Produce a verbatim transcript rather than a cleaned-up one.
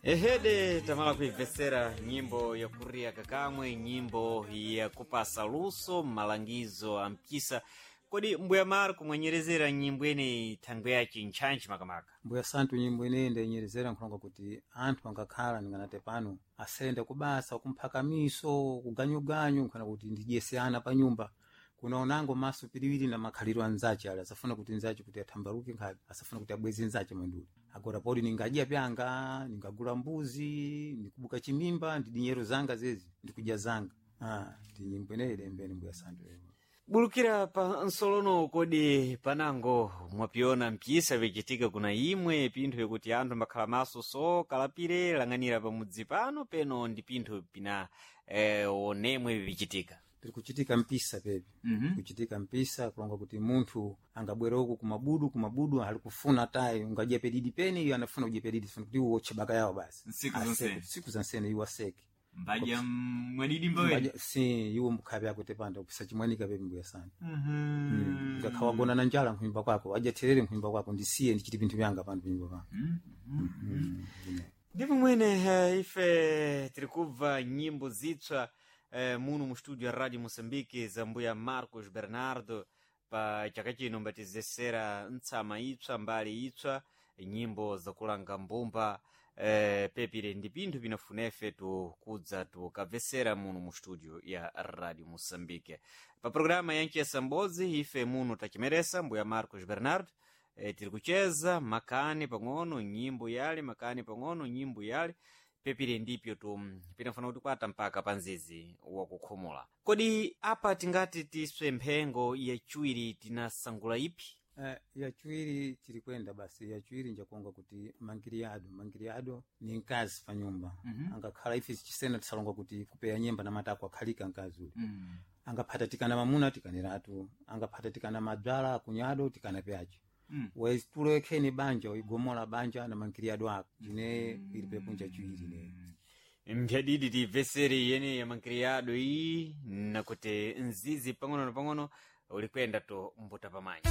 Ehede tamala kuibvesera nyimbo yakuria kakamwe, nyimbo yakupasa luso malangizo ampisa. Kodi mbuya Marco mwanyerezera nyimbo ineyi thangwe yaci ntchantchi makamaka? Mbuya santu, nyimbo ineyi ndayinyerezera nkhulonga kuti anthu angakhala ninganate pano asende kubasa kumphakamiso kuganyuganyu nkhana kuti ndidyese ana pa nyumba kunaonango maso piriwiri na makhaliro anzace ali asafuna kuti nzace kuti athambaluke nkhabe, asafuna kuti abweze nzace mwenduli agora podi ningadya pyanga, ningagula mbuzi, ndikubuka chimimba ndi dinyero zanga zezi ndikudya zanga. Ah, ndi nyimbo ineyi lembeni, mbuya santu. Bulukira pa nsolono, kodi panango mwapiona mpisa vicitika kuna imwe pinthu yakuti anthu mbakhala maso so kalapire lang'anira pamudzi pano peno ndi pinthu pina eh, onemwe vicitika? Piri kuchitika mpisa pepi. mm -hmm. Kuchitika mpisa kulonga kuti munthu angabwera uku kumabudu kumabudu ali kufuna tayi ungadya pedidi peni iyo anafuna kudya pedidi funa kuti uwotche baka yawo basi. Nsiku Aseke, zonsene. siku zansene iwo aseke. Mbadya mwadidi mbaweni. Mbadya- si iwo mkhabe ako tepanda kupisa chimwanika pepi, mbuya sana. Ngakha wagona na njala nkhumba kwako, wadya therere nkhumba kwako, ndisiye ndichiti pinthu vyanga pano panyumba pano. Ndipo mwene eh, ife tiri kubva nyimbo zitsva eh, muno mu studio ya Radio Moçambique za mbuya Marcos Bernardo. Pa chaka chino mbatizesera ntsama itsva, mbali itsva, nyimbo zakulanga mbumba. eh, pepire ndi pinthu pinafunefe tukudza tukabvesera muno mu studio ya Radio Moçambique pa programa ya Nchesa Mbodzi. Ife muno tachimeresa mbuya Marcos Bernardo, e, tiri kucheza makani pang'ono nyimbo yale, makani pang'ono nyimbo yale, pepire ndipyo tu pinafuna kuti kwata mpaka pa nzizi wakukhumula. Kodi apa tingati tiswe mphengo yachiwiri tinasangula ipi? Eh, yachiwiri tiri kwenda basi. Yachiwiri njakuonga kuti mangiriado mangiriado ni mkazi pa nyumba. mm -hmm. Angakhala ife chisena tisalonga kuti kupeya nyemba na matako akhalika mkazi uli. mm. Angaphata tikana mamuna tikaniratu, angaphata tikana madzala akunyado tikana pyace. mm. Waitulo ekheni banja uigomola banja na mangiriado ako jine ili pepunja chiwiri ne. Mphyadidi tibvesere yene ya mankiriyado iyi nakuti nzizi pang'ono na pang'ono ulikwenda to mbuta pamanya.